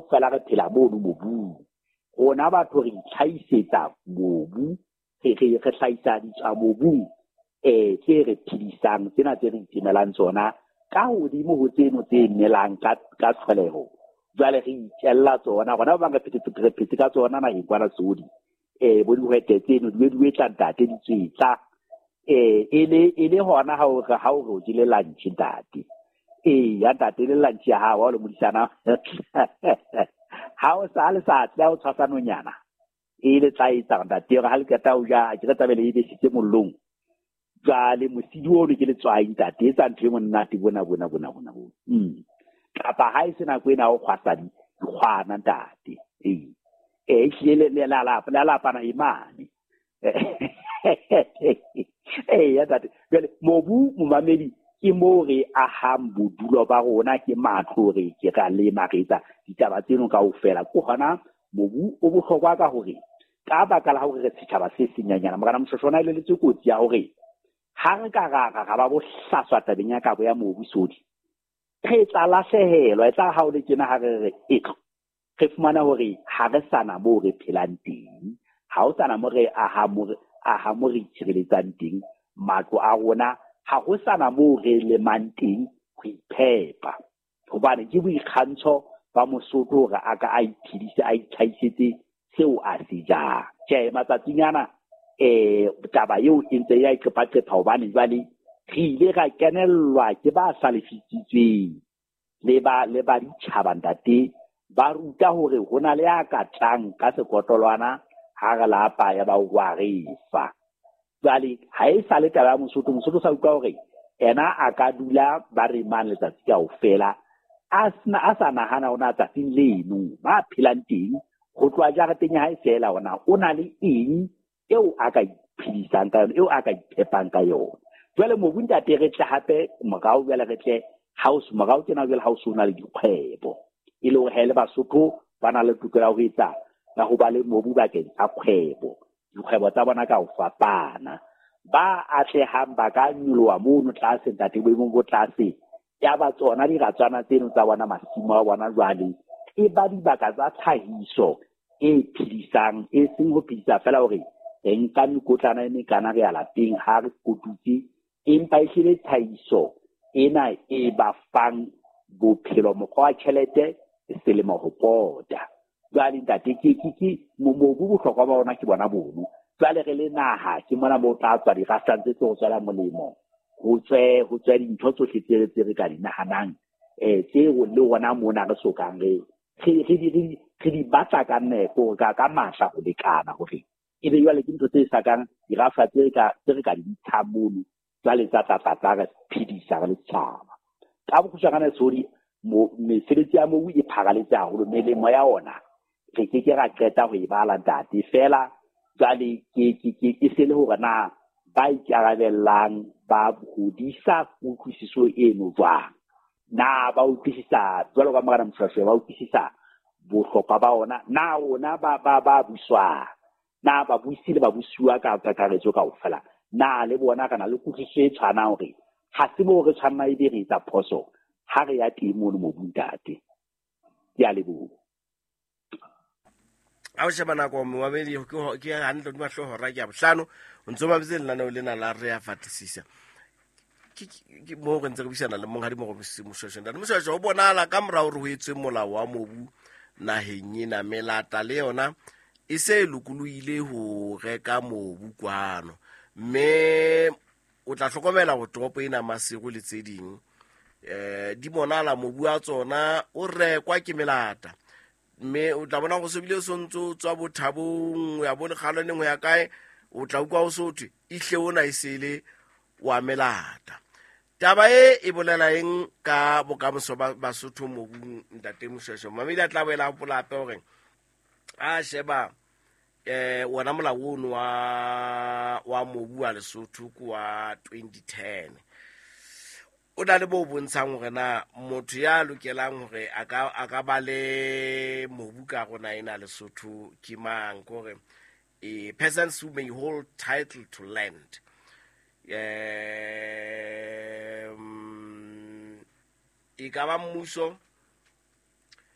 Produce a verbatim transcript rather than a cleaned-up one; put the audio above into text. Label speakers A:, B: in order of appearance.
A: Kaofela re phela mono mobung. Rona batho re itlhahisetsa mobu, re re re hlahisa ditswa mobung eh tse re phedisang, tsena tse re itemelang tsona ka hodimo ho tseno tse melang ka ka tlholeho. Jwale re itjella tsona, rona ba bang re phetse re phetse ka tsona naheng kwana Sodi. Eh bo dihwete tseno di be di etla ntate di tswetla. Eh e le e le hona ha o re ha o re o jele lunch ntate. Eh ya ntate le lunch ya hao ha o le modisana. Ha o sa le sa tla o tshwasa nonyana. E le tla etsa ntate hore ha le qeta ho ja ke re tlabe le e besitse mollong. Jwale mosidi ono ke letswai ntate, etsa ntho e monate bona bona bona bona bona. Mm. Kapa ha e se nako ena o kgwasa dikgwana ntate. Ee. Eh ehlile le la la la la pana imane. Eh ya ntate. Jwale mobu momamedi ke moo re ahang bodulo ba rona, ke matlo re ke ra lema re etsa ditaba tseno kaofela. Ke hona mobu o bohlokwa ka hore ka baka la hore re setjhaba se senyanyana, Morena Moshoeshoe o na elelletswe kotsi ya hore ha re ka ra ra ba bohlaswa tabeng ya kabo ya mobu Sodi, re tla lahlehelwa. E tla ha o le tjena ha re re etlo re fumana hore ha re sana moo re phelang teng, ha ho sana moo re aha mo re aha mo re itshireletsang teng, matlo a rona ha ho sana moo re lemang teng ho iphepa. Hobane ke boikgantsho ba Mosotho hore a ka a iphedise, a itlhahisetse seo a se jang. Tjhe, matsatsing ana eh taba eo e ntse ya iqepaqepha, hobane jwale re ile ra kenellwa ke ba hlalefisitsweng le ba le ba ditjhaba ntate, ba ruta hore ho na le ya ka tlang ka sekotlolwana ha re lapa ya ba wa re fa. Jwale ha e sa le taba ya Mosotho, Mosotho sa utlwa hore ena a ka dula ba re mang letsatsi kaofela a sena a sa nahana ona tsatsing leno ba phelang teng ho tloha jareteng ya hae feela ona o na le eng eo a ka iphedisang ka yona, eo a ka iphepang ka yona. Jwale mobu ntate re tle hape morao, jwale re tle house morao tjena, jwale house o na le dikgwebo e le hore ha e le Basotho ba na le tokelo ya ho etsa ya ho ba le mobu bakeng sa kgwebo, dikgwebo tsa bona ka ho fapana. Ba atlehang ba ka nyoloha mono tlase ntate, boemong bo tlase, ya ba tsona diratswana tseno tsa bona, masimo a bona jwale e ba dibaka tsa tlhahiso e phedisang, e seng ho phedisa fela hore re nka mekotlana e mekana re ya lapeng ha re kotutse, empa ehlile tlhahiso ena e ba fang bophelo, mokgwa wa tjhelete selemo ho pota. Jwale ntate ke ke ke mobu bohlokwa ba ona ke bona bono. Jwale re le naha ke mona moo tla tswa dirafshwang tse tlo tswela molemo, ho tswe ho tswe dintho tsohle tse tse re ka di nahanang eh tseo le rona mona re sokang re re re di re di batla ka nepo ka ka matla ho lekana hore ebe jwale ke ntho tse sa kang dirafshwa tse ka tse re ka di ntshang mono jwale tsa tla tla tla re phedisa re le setjhaba. Ka bokgutshwanyane Sodi, mesebetsi ya mobu e pharaletse haholo, melemo ya ona re ke ke ra qeta ho e bala ntate. Feela jwale ke ke ke e se le hore na ba ikarabellang ba hodisa kutlwisiso eno jwang, na ba utlwisisa jwalo ka Morena Moshoeshoe, ba utlwisisa bohlokwa ba ona, na rona ba ba ba buswang, na babusi le babusuwa ka kakaretso kaofela, na le bona re na le kutlwisiso e tshwanang hore ha se moo re tshwanna ebe re etsa phoso ha re ya teng mono mobung ntate. Ke a leboha.
B: Ha o sheba nako momamedi ke hantle hodima hlooho hora ke ya bohlano, o ntso mametse lenaneo lena la Re a Fatisisa. Ke moo re ntse re buisana le monghadi Morobisi Moshoeshoe. Ntate Moshoeshoe, ho bonahala ka mora hore ho etswe molao wa mobu naheng ena, melata le yona e se e lokolohile ho reka mobu kwano, mme o tla hlokomela hore toropo ena Maseru le tse ding eh di bonala mobu wa tsona o rekwa ke melata, mme o tla bona go se bile o sontso tswa bothabong ya bo lekgalwaneng ho ya kae, o tla utlwa o so thwe ihle ona e sele wa melata. Taba e e bolela eng ka bokamoso ba Basotho mobung ntate Moshoeshoe? Mamedi a tla boela a hopola hape hore a sheba eh wona molao ono wa wa mobu wa Lesotho ke wa twenty ten, o na le bo bontshang hore na motho ya lokelang hore a ka a ka ba le mobu ka rona ena Lesotho ke mang, kore eh persons who may hold title to land. Eh e ka ba mmuso